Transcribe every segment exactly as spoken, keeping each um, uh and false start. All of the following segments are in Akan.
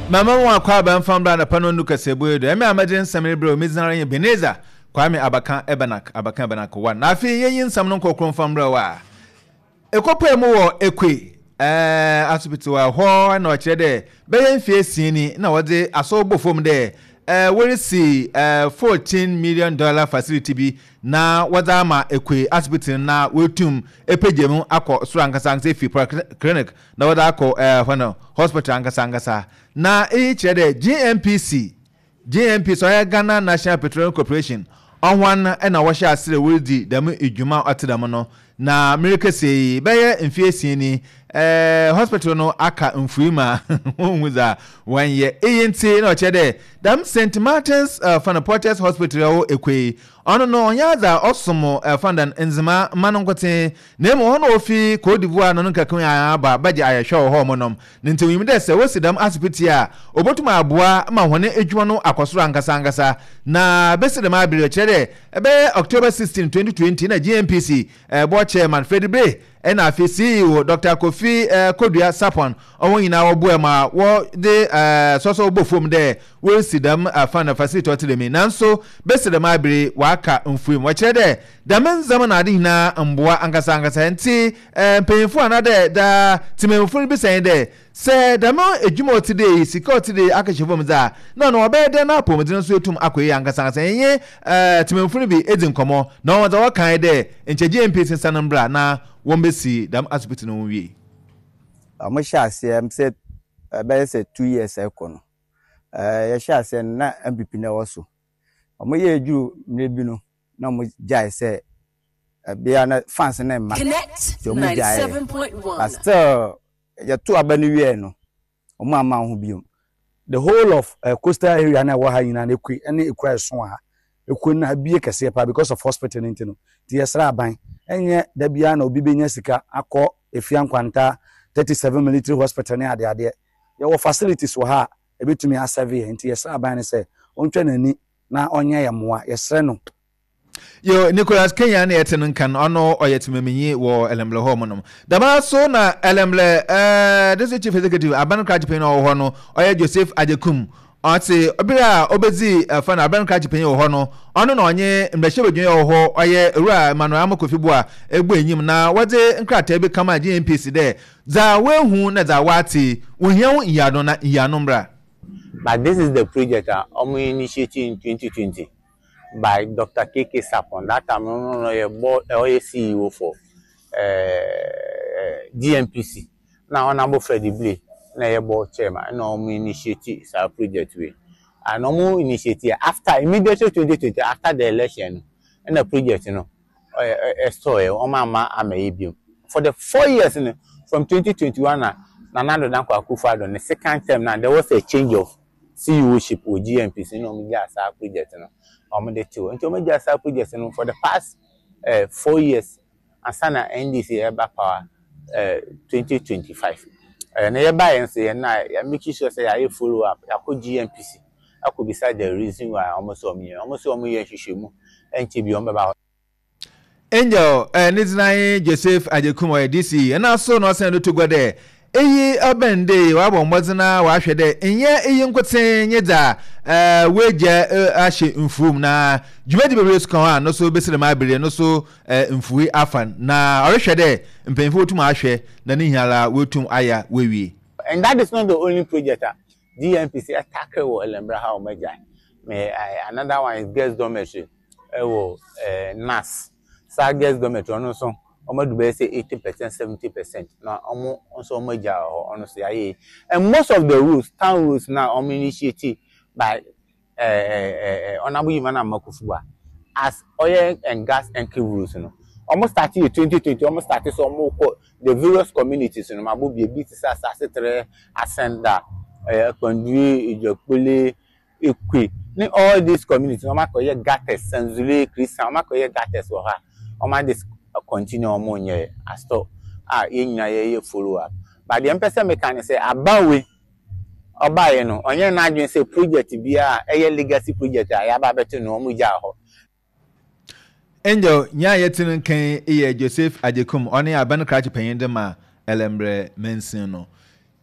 Mama mu akɔ aba mfa mbra anapa no nu kaseɛbɔ yi do. Ɛmɛ a mɛgye nsɛm no berɛ omi gyina yɛ Ebenezer Kwame Abaka Ebenak Abaka Ebenak wa. Na afei yɛnyi nsɛm no nkɔkoro mfa mbrɛ wɔ a ekɔpɛ mu wɔ Ekwe ɛɛ asopiti wɔ hɔ, na ɔkyerɛ dɛ bɛyɛ mfie esia ni na wɔdze asɔw bɔ fam dɛ ɛɛ wɔresi ɛɛ fourteen million dollar facility bi na wɔdze ama Ekwe asopiti no na wɔatum epagya mu akɔ soro ankasa ankasa, efi clinic na wɔdze akɔ ɛɛ hɔ no hospital ankasa ankasa. Na eyi kyerɛ dɛ G N P C G N P C, ɔyɛ Ghana National Petroleum Corporation, ɔhwan ɛna wɔhyɛ ase dɛ wɔredi dɛm edwuma ɔte dɛm no. Na mmerekɛseɛ yi bɛyɛ mfeɛ esia ni, ɛɛ hospital no aka mfui ma wɔnhu dza wɔnyɛ. Eyi nti na ɔkyerɛ dɛ dɛm Saint Martin's uh, Fanaporters Hospital ɛwɔ Ekwe, ɔno no ɔnyɛ adze a ɔsom ɛfandan nzema mma no nkotsee, na emu ɔno ofi Cote d'Ivoire no no nkaka aba bɛgye ayɛhwɛ wɔ hɔ ɔmo nom ne. Nti onyim dɛ sɛ wosi dɛm asopiti a, obotum aboa ma hɔn edwuma no akɔ soro ankasa ankasa. Na besi dɛm abere, kyerɛ dɛ ɛbɛyɛ October sixteen twenty twenty na G N P C ɛbɔ chairman Freddie Blay ɛna afei C E O Doctor Kofi ɛɛ Kodua Sapon, ɔwɔn nyinaa wɔboa ma wɔde ɛɛ sɔsɔ bɔ fam dɛ wɔresi dɛm afa na facility ɔte dɛm yi. Nanso besi dɛm abere, waka mfuim, wɔkyerɛ dɛ dɛm ndzɛmba na ade nyinaa mboa ankasa ankasa. Nti ɛɛ mpanyinfo anaadɛ daa tìmɛnfo no bisa yɛn dɛ sɛ dɛm edwuma ɔte dɛ yi, sika ɔte dɛ yi akɛhyɛ fam dze a, na ɔno ɔbɛyɛ dɛ na apɔmuden nso etum akɔ yie ankasa ankasa. Yɛnyɛ ɛɛ tìmɛnfo no bi edi nkɔmɔ na wɔn dza wɔkan dɛ nkyɛn G N P C nsa no mbra na wɔn bɛsi dɛm asopiti no ho wie. Ɔmo hyɛ aseɛ sɛ ɛbɛyɛ sɛ two years ɛkɔ no, ɛɛ yɛhyɛ aseɛ no na N P P na ɛwɔ so. Ɔmo yɛ eduru mmerɛ bi no na ɔmo gyae sɛ ɛbea na fans ne mma Connect nti ɔmo gyae. ninety-seven point one. But still yɛto aba no wie no, ɔmo ama ho biom. The whole of uh, coastal area na ɛwɔ ha nyinaa na Ekwe ɛne ekura ɛso wɔ ha. Ekwe no ha bie kɛseɛ paa because of hospital no. Nti no nti yɛsrɛ aban, ɛnyɛ da biara na obi bɛnya sika akɔ Efia Nkwanta thirty seven Military Hospital ne adeadeɛ. Yɛwɔ facilities wɔ ha a ebɛtumi aserve yɛn, nti yɛsrɛ aban no sɛ ɔntwa n'ani na ɔnyɛ yɛn mmoa, yɛsrɛ no. Yo, Nicholas Kenya ne yɛte no nkan, ɔno ɔyɛ temaminyi wɔ Ellembelle hɔ mu nom. Dɛm so na Ellembelle ɛɛ district chief executive, aban krakye panyin a ɔwɔ hɔ no, ɔyɛ Joseph Agyekum, ɔte bere a ɔbɛdzi ɛfa no aban krakye panyin wɔ hɔ no, ɔno na ɔnye mmarahyɛbadwa wɔ hɔ, ɔyɛ Owura Emmanuel Amokofi Boa egbu enyim na wɔdze nkrataa bi kama G N P C dɛ dza woehu na dza wɔate, wohia ho nyiano na nyiano mbra. But this is the project a wɔn initiate in twenty twenty by Doctor K K Sapon. That time no no yɛ board, ɔyɛ C E O for uh, G N P C. Na Honourable Freddie Blay na ɛyɛ board chairman, ɛna wɔn initiate saa project wei. And wɔn initiate after immediately twenty twenty, after the election no, ɛna project no ɛ ɛstɔɔ yɛ, wɔn ama ama yɛ biom for the four years no from twenty twenty-one na Nana Addo Dankwa Akufo-Addo ne second term na there was a change of C E O ship wɔ G N P C, na wɔn gyaa saa project no, wɔn de te hɔ. Nti wɔn gyaa saa project no for the past uh, four years ansa na N D C ɛba power uh, twenty twenty-five. ɛɛ na yɛba yɛn nso yɛn na yɛ make sure sɛ yɛayɛ follow up, yɛakɔ G N P C akɔ bisa the reason why wɔn sɛ wɔn yɛ wɔn sɛ wɔn yɛ nhwehwɛmu, ɛnkyɛ bi wɔn bɛba hɔ. Angel eh, ne dzina Joseph Agyekum, ɔyɛ D C, ɛna so na ɔsɛn do to gua dɛ eyi ɔbɛn de wabɔ mmɔdzen a wahwɛ dɛ nyɛ eyi nkotsee nye dza ɛɛ woegya ahyɛ mfuom, na dwumadi bebree so ka ho a no so besi dɛm abere no so ɛɛ mfuwi afa na ɔrehwɛ dɛ mpanyinfo wotum ahwɛ na ne nyinara wotum ayɛ woewie. And that is not the only project a G N P C tackle wɔ Ellembelle ha wɔn agya me. Another one is girls dormitory ɛwɔ ɛɛ N A S. Saa girls dormitory ɔno nso wɔn adu bɛyɛ sɛ eighty percent, seventy percent, na wɔn nso wɔn agya wɔ hɔ, ɔno nso yɛayɛ yi. And most of the roads, town roads na wɔn initiate by ɛɛ ɛɛ Honourable Yimana Makufuwa as oil and gas enclave roads no, wɔn start yɛ twenty twenty. Wɔn start so wɔn kɔ the various communities no, mabo bi ebi te sɛ Asase Tere, Asenda, ɛɛ Akpandue, Ijakpole, Ekwe ne all these communities. Wɔn akɔyɛ gutters, Sanzule, Christian, wɔn akɔyɛ gutters wɔ ha. Wɔn ade continue, wɔn nyɛ astɔ a yɛn nyinaa yɛyɛ follow up. But deɛ mpɛ sɛ meka ne sɛ abawe ɔbaeɛ no, ɔnyɛ n'adwene sɛ project biara a ɛyɛ legacy project a yɛaba abɛto no, wɔn gyaa hɔ. Angel nyaa yɛte no nkan yɛ Joseph Agyekum, ɔne aban krakye panyin de ma Ellembelle mansin no.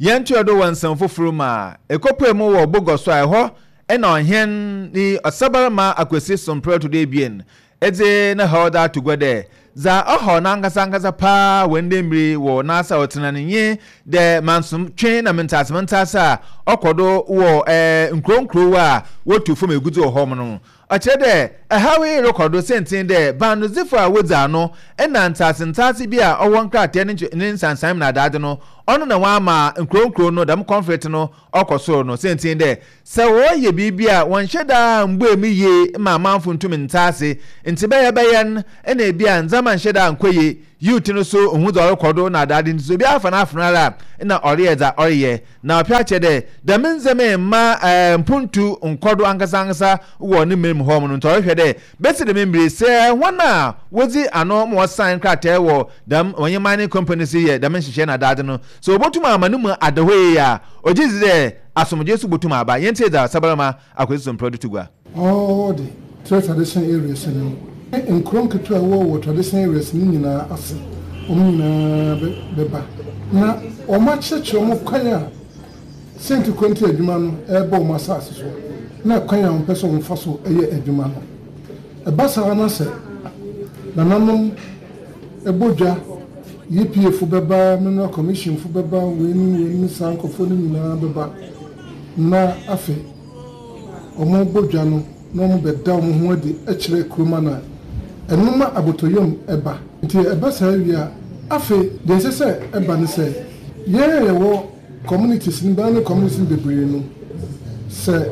Yɛntoa do wɔ nsɛm fofor mu a, ekopue mu wɔ Bogoso a ɛhɔ na ɔhen ne ɔsabarima Akwesi Somprɛ ɔtɔ do ebien dze ne haw dze ato gua dɛ dza ɔhaw n'ankasa ankasa paa wɔ ndɛ mber yi wɔ n'ase a ɔtsena no nye dɛ mansotwe na mentsease mentsease a ɔkɔ do wɔ nkurow nkurow a wotu famu egudze wɔ hɔ no. Ɔkyerɛ dɛ haw yi rokɔ do siantsir dɛ baanodzifo a wodzi ano na ntsease ntsease bi a ɔwɔ nkrataa ne ne nsansan mu na adadze no, ɔno na wɔama nkurow nkurow no dɛm conflict no ɔkɔ sor no siantsir dɛ sɛ wɔreyɛ biribi a wɔnnhyɛ da mmbue mu yie ma amamfo nntum nntse ase ntsi bɛyɛ bɛyɛ no nna bi a ndzɛmba nnhyɛ da nnkɔ yie. Youth no so nnhu dza ɔrokɔ do na adadze ntsi sɛ obiara afa n'afono ara a nna ɔreyɛ dza ɔreyɛ. Na ɔpɛ akyerɛ dɛ dɛm ndzɛmba yi mma mpontu nnkɔ do ankasankasa wɔ ne man mu hɔ no, ntsi ɔrohwɛ dɛ besi dɛm mber yi sɛ hɔn a wodzi ano ma wɔsan nkrataa wɔ dɛm wɔnye mining companies yi yɛ dɛm nhyehyɛɛ na adadze no, sɛ wobotum ama no mu ada hɔ yie a, ɔgye dzi dɛ asomdwee so botum aba. Yɛntsie dza Sabarima Akwesi Somprɛ do to gua. All the three traditional areas no ne nkuro nketewa a ɛwɔ wɔ traditional areas no nyinaa ase, wɔn nyinaa bɛba na wɔakyerɛkyerɛ wɔn kwan a sɛnti kwanti adwuma no ɛrebɔ wɔn asase so na kwan a wɔpɛ sɛ wɔfa so yɛ adwuma no. Ɛba saa na sɛ nananom ɛbɔ dwa, E P A fo bɛba, Mineral Commission fo bɛba, weinom weinom saa nkurɔfoɔ no nyinaa bɛba na afei wɔn bɔ dwa no na wɔn bɛda wɔn ho adi kyerɛ kuroma no a ɛno ma abotɔyam ɛba. Nti ɛba saa wie a, afei deɛ ɛsɛ sɛ ɛba ne sɛ yɛn a yɛwɔ communities no bɛn ne communities no bebree no, sɛ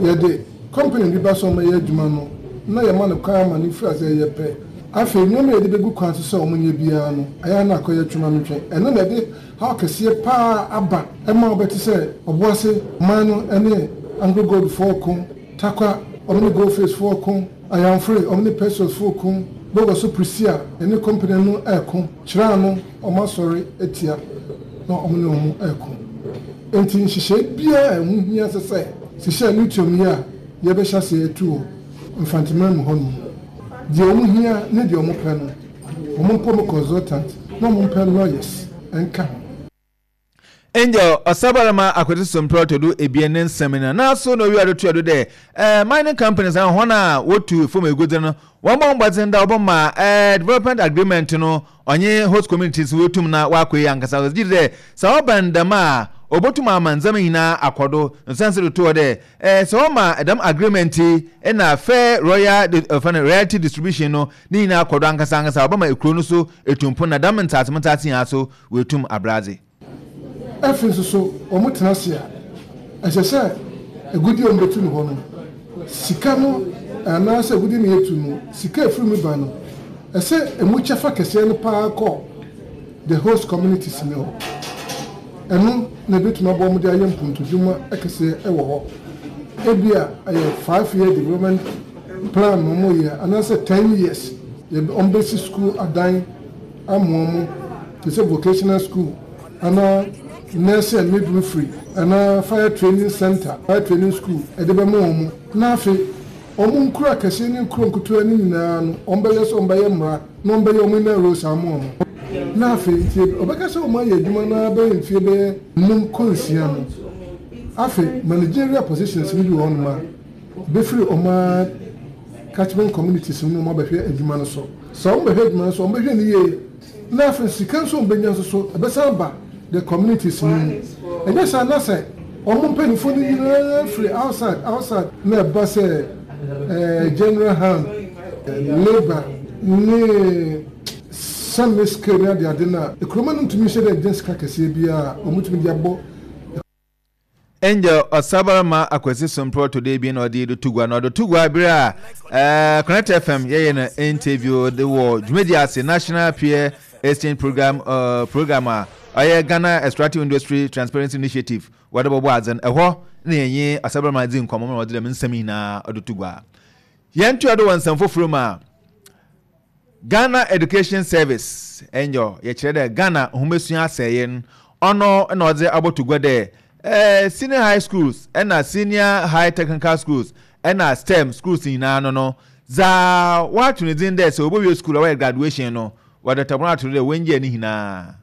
yɛde company bi ba sɛ ɔmɛyɛ adwuma no na yɛma no kwan ama no firi ase yɛ pɛ, afei nneɛma a yɛde bɛgu kwan so sɛ ɔmo nyɛ biara no ɛyɛ na akɔyɛ twema no twɛn. Ɛno na ɛde haw kɛseɛ paa aba ɛma wɔbɛte sɛ Ɔboase man no ne Anglo Gold foɔ ko, Takwa ɔmo ne Gold Fields foɔ ko, Ayamfore ɔmo ne Perseus foɔ ko, Bogoso Prestea ɛne company no ɛɛko kyerɛ ano, ɔmo asɔre atia na ɔmo ne ɔmo ɛɛko. Nti nhyehyɛe biara a ɛho hia sɛ sɛ hyehyɛ lithium yi a yɛbɛhyɛ aseɛ atu wɔ Mfanteman mu hɔnom, deɛ ɔmo hia ne deɛ ɔmo pɛ no, ɔmo mpɛ mo consultant na ɔmo mpɛ lawyers ɛnka ho. Angel Ɔsabarima Akwasi Somprɛ ɔtɔ do ebien ne nsɛm no naaso na owia do toa do dɛ eh, mining companies a hɔn a wotu fam egudze no, wɔmbɔ mbɔdzen dɛ wɔbɛma eh, development agreement no ɔnye host communities wotum na wakɔ yi ankasa. Ɔgye di dɛ sɛ ɔbɛn dɛm a, obotum ama ndzɛmba nyinaa akɔ do. Nsansi do toɔ dɛ eh, sɛ ɔma dɛm agreement yi na fair royal uh, royalty distribution no ne nyinaa akɔ do ankasa ankasa, ɔbɛma ekuro no so etumpo na dɛm ntaase ntaase nyinaa so wetum abradze. Afei nso so wɔn tena ase a, ɛsɛ sɛ agudie a wɔn bɛtu no hɔ no, sika no anaasɛ agudie no yɛtu no, sika efiri mu ba no, ɛsɛ emu kyɛfa kɛseɛ no paa kɔ the host communities no hɔ. Ɛno na ebɛtumi aboa wɔn de ayɛ mpuntudwuma kɛseɛ ɛwɔ hɔ. Ebi a ɛyɛ five year development plan na wɔn yɛ anaasɛ ten years, yɛ wɔn bɛsi school adan ama wɔn te sɛ vocational school anaa nursing and midwifery anaa fire training center, fire training school ɛde bɛma wɔn. Na afei wɔn nkuro akɛseɛ ne nkuro nketewa no nyinaa no, wɔn bɛyɛ sɛ wɔn bɛyɛ mmara na wɔn bɛyɛ wɔn inner roads ama wɔn. Na afei nti ɔbɛka sɛ wɔn ayɛ adwuma na bɛyɛ mfie bɛyɛ num kɔ nsia no, afei managerial positions no bi wɔ hɔnom a bɛfiri wɔn a catchment communities no mu, wɔn abɛhwɛ adwuma no so. Sɛ wɔn bɛhwɛ adwuma no so, wɔn bɛhwɛ no yie, na afei sika nso wɔn bɛnya nso so ɛbɛsan ba the communities no mu. Ɛnyɛ saa na sɛ wɔn mpanimfoɔ no nyinaa firi outside outside na ɛba sɛ ɛɛ general hand labour ne semi scale ne adeade no a, ekuroma no ntumi nhyɛ dɛ gye sika kɛseɛ biara a wɔn tumi de abɔ. Angel Ɔsabarima Akwasi Somprɛ ɔtɔ do ebien na ɔde de to gua na ɔde to gua bere a ɛɛ Connect F M yɛyɛ no interview de wɔ dwumadi ase National Peer Exchange Program uh, program a ɔyɛ Ghana Extractive Industry Transparency Initiative wɔde bɔbɔ adze no. Ɛhɔ na yɛnye ɔsabarima dzi nkɔmmɔ ma ɔde dɛm nsɛm nyinaa ɔde to gua. Yɛn toa do wɔ nsɛm foforɔ mu a, Ghana Education Service ɛnyɛ yɛkyerɛ dɛ Ghana nhomasua asɛeɛ no, ɔno na ɔdze abɔto gua dɛ ɛɛ senior high schools ɛna senior high technical schools ɛna STEM schools nyinaa no no dza wɔato ne dzin dɛ sɛ wɔbɛwie school a wɔyɛ graduation no, wɔde tɛbɔn ato do dɛ wɔngyɛ ne nyinaa.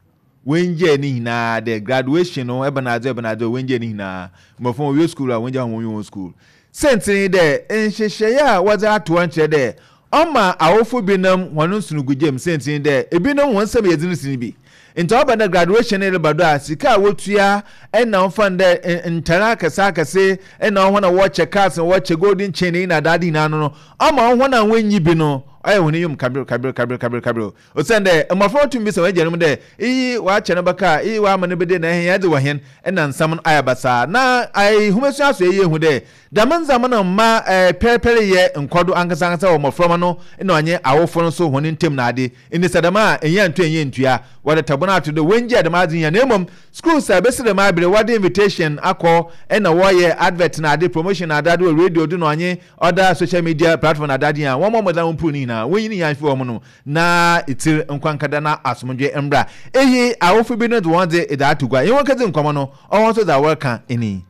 Wɔngyae ne nyinaa dɛ graduation no ɛbɛnadze ɛbɛnadze wɔngyae ne nyinaa. Mmɔfra wɔwie school a, wɔngyae wɔn wɔn school. Sɛntene yi dɛ nhyehyɛeɛ a wɔdze ato hɔ nkyerɛ dɛ ɔma awofo binom hɔn nsonogugyam. Sɛntene dɛ ebinom hɔn nsɛm yɛ dzen sen bi, nti ɔba dɛ graduation no reba do a, sika a wotua ɛna ɔfa no dɛ ntare akɛse akɛse ɛna hɔn a wɔkyɛ cars na wɔkyɛ golden chain yi na adaade nyinaa no no ɔma hɔn a wɔnyi bi no ɔyɛ hɔn enyim kabere kabere kabere kabere kabere, osiane dɛ mmɔfra wɔtum bisa wɔn agyanom dɛ iyi wɔakyɛ no bɛka, iyi wɔama no bɛde na ɛhɛn yɛdze wɔ hɛn ɛna nsɛm no ayɛ basaa. Na ayihumasua so ɛyɛ ehu dɛ dɛm ndzɛmba no mma ɛɛ pɛrpɛr yɛ nkɔdo ankasa ankasa wɔ mmɔframma no na ɔnye awofo no so hɔn ntam na ade. Nti sɛ dɛm a ɛnyɛ nto ɛnyɛ ntua wɔde tabon ato do wɔngye dɛm adze nyina. Na mmom schools a bɛsi dɛm abere wɔde invitation akɔ ɛna wɔyɛ advert na ade, promotion na ade ade wɔ radio do na ɔnye other social media platform na ade ade a wɔn mmɔden wɔn mpuru ne nyinaa wɔnyi ne nyinaa fi wɔn no na etiri nkwankada na asomdwe mbra. Eyi awofo bi no de wɔn de ɛde ato gua. Yɛn wɔn kɛdze nkɔmɔ no ɔwɔn nso dza wɔreka ɛni.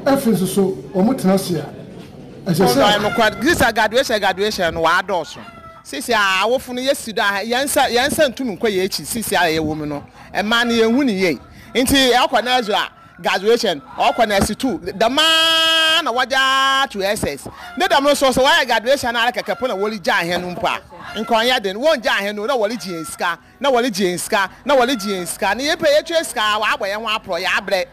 Afei nso so wɔn tena ase a ɛsɛ sɛ. Nokware sisa graduation graduation no wɔadɔɔso sisi a awofo no yɛsi do a yɛn nsa yɛn nsa ntum nkɔ yɛn akyi. Sisi a yɛwɔ mu no, mmaa no yɛn hu ne yie, nti ɛkɔ nursery a, graduation, ɔkɔ nursery two dɛmaa na wɔgya to S S ne dɛm no so sɛ wɔyɛ graduation ara kɛkɛ po na wɔre gya ahɛn no mpo a nkɔnyɛ den wɔn gya ahɛn no na wɔre gye yɛn sika na wɔre gye yɛn sika na wɔre gye yɛn sika na yɛpɛ yɛtwa sika wɔabɔ yɛn ho aporɔ yɛabrɛ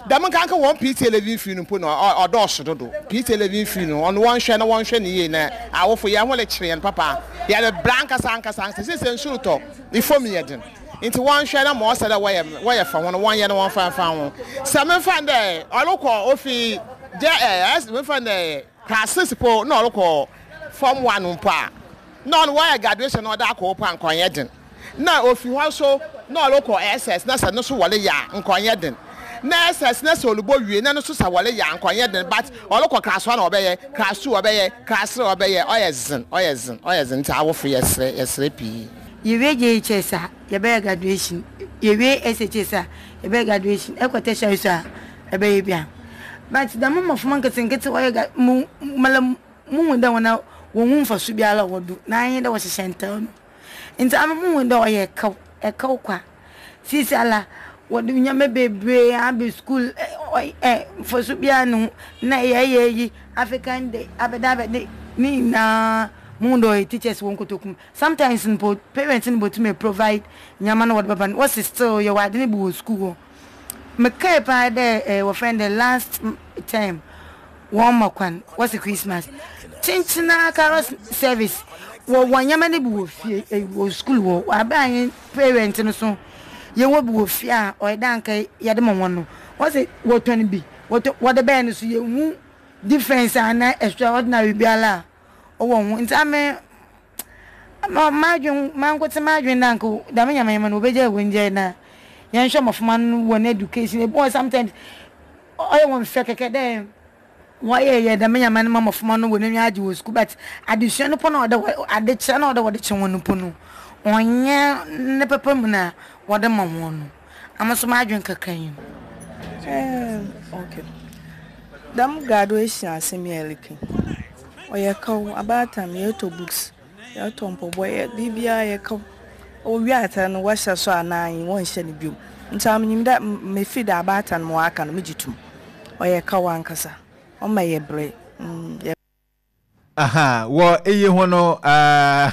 dɛm. Nkanka wɔn P T A levy fee no mpo no ɔdɔɔso dodo. P T A levy fee no, ɔno wɔnhwɛ na wɔnhwɛ ne yie na awofo yɛn ho rekyerɛ yɛn papa, yɛde bra ankasa ankasa ankasa. Sisi nsuo tɔ ifom yɛ den, nti wɔnhwɛ na ma ɔsɛ dɛ wɔyɛ wɔyɛ fa ho no wɔnyɛ no wɔnfa fa ho. Sɛ memfa dɛ ɔrekɔ ofi gye ɛ ɛs memfa dɛ class six po na ɔrekɔ form one mpo a, na ɔno wɔyɛ graduation na ɔde akɔ po a, nkɔnyɛ den. Na ofi hɔ so na ɔrekɔ S S na sɛ no so wɔle yɛ a, nkɔnyɛ den. Na S S na sɛ ɔlebɔ wie na no so sɛ wɔle yɛ a, nkɔnyɛ den. But ɔrekɔ class one ɔbɛyɛ, class two ɔbɛyɛ, class three ɔbɛyɛ, ɔyɛ zen, ɔyɛ zen, ɔyɛ zen. Nti awofo yɛsrɛ yɛsrɛ pii. Yɛwie J H S a, yɛbɛyɛ graduation. Yɛwie S H S a, yɛbɛyɛ graduation. Ɛkɔ tertiary so a, ɛbɛyɛ bia. But dɛm mmɔframma nketenkete wɔyɛ gra mu mala muhu dɛ wɔn a wɔn ho mfaso biara wɔ do na anyi dɛ wɔhyehyɛ ntar no, nti ama muhu dɛ ɔyɛ ɛkaw ɛkaw kwa. Sisi ala wɔde nneɛma bebree aba school, ɛ ɛ mfaso biara ne ho na yɛyɛ yi African Day abɛda abɛde ne nyinaa. Muhu dɛ ɔyɛ teachers wɔn kotokum. Sometimes mpo parents no bɔtumi provide nneɛma no wɔde bɛba no, wɔsi still yɛwɔ ade no bi wɔ school hɔ. Mekae paa dɛ ɛɛ wɔfrɛ no dɛ last term wɔn ma kwan wɔsi Christmas kyenkyena carol service wɔ wɔn nneɛma no bi wɔ fie ɛ wɔ school wɔ abɛn anyi parent no so yɛwɔ bi wɔ fie a ɔyɛ dɛ anka yɛde ma wɔn no, wɔsi wɔtɔn bi wɔtɔ wɔde bɛyɛ no so yɛhu difference ana extraordinary biara a ɔwɔ ho. Nti ame ma madwen mankote madwen na nka dɛm nyamanyama no wɔbɛgya wɔn gya na yɛnhwɛ mmɔframma no wɔn education. Ebi wɔ sometimes ɔyɛ wɔn fɛ kɛkɛ dɛ wɔyɛ yɛ dɛm nyama no ma mmɔframma no wɔn ani agye wɔ sukuu, but adesua no po na ɔde adekyerɛ na ɔde wɔde kyerɛ wɔn no po no, ɔnyɛ ne pɛpɛ mu na wɔde ma wɔn no. Ama so madwen kakra yi. Um, okay. Dɛm graduation asɛm yɛ leke. Ɔyɛ kaw abaatan, yɛtɔ books, yɛtɔ mpɔbɔ, yɛ biribiara yɛ kaw. Owie atar no wɔhyɛ so anaa wɔnhyɛ no biom. Nti amenyim dɛ mefi dɛ abaatan ma wɔaka no megye tom. Ɔyɛ kaw ankasa. Ɔma yɛ brɛ. Mm, yɛ Aha wɔ eyi ho no, uh,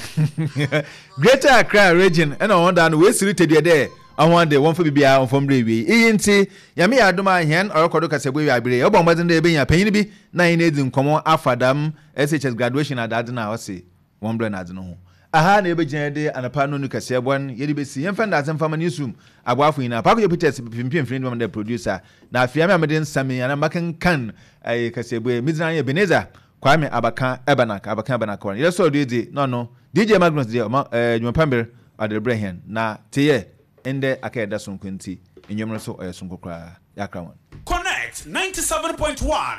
Greater Accra Region ɛna wɔn da no wɔesiri tɛdeɛ dɛ ɔhɔn de wɔmfa biribiara wɔmfa mmerɛ ewie iyi. Nti Nyame yɛ adom a hɛn ɔrekɔdo kasɛbo ewie abere yɛbɔ mmɔden dɛ yɛbɛnya panyin bi na yɛn edi nkɔmmɔ afa dam S H S graduation adaadze no a ɔse wɔn brɛ n'adze no ho. Aha na yɛbɛgyina yɛde anapa no nu kɛseɛ bɔn yɛde bɛsi yɛmfa ndase mfama newsroom aboafo nyinaa, Paakɔyɛ Peters pimpim mfini dwuma dɛ producer, na afei ame a mede nsɛm yi anaa makenkan ɛyɛ kɛseɛ yi medzina yɛ Ebenezer Kwame Abaka Ebanak Abaka Ebanak wɔn yɛsɔ do edzi na ɔno D J Magnus deɛ ɔma ɛɛ dwumapambere ɔde rebrɛ hɛn na teyɛ ndɛ aka yɛda sonko nti nnwom no so ɔyɛ sonko koraa yɛakra wɔn. Connect ninety-seven point one.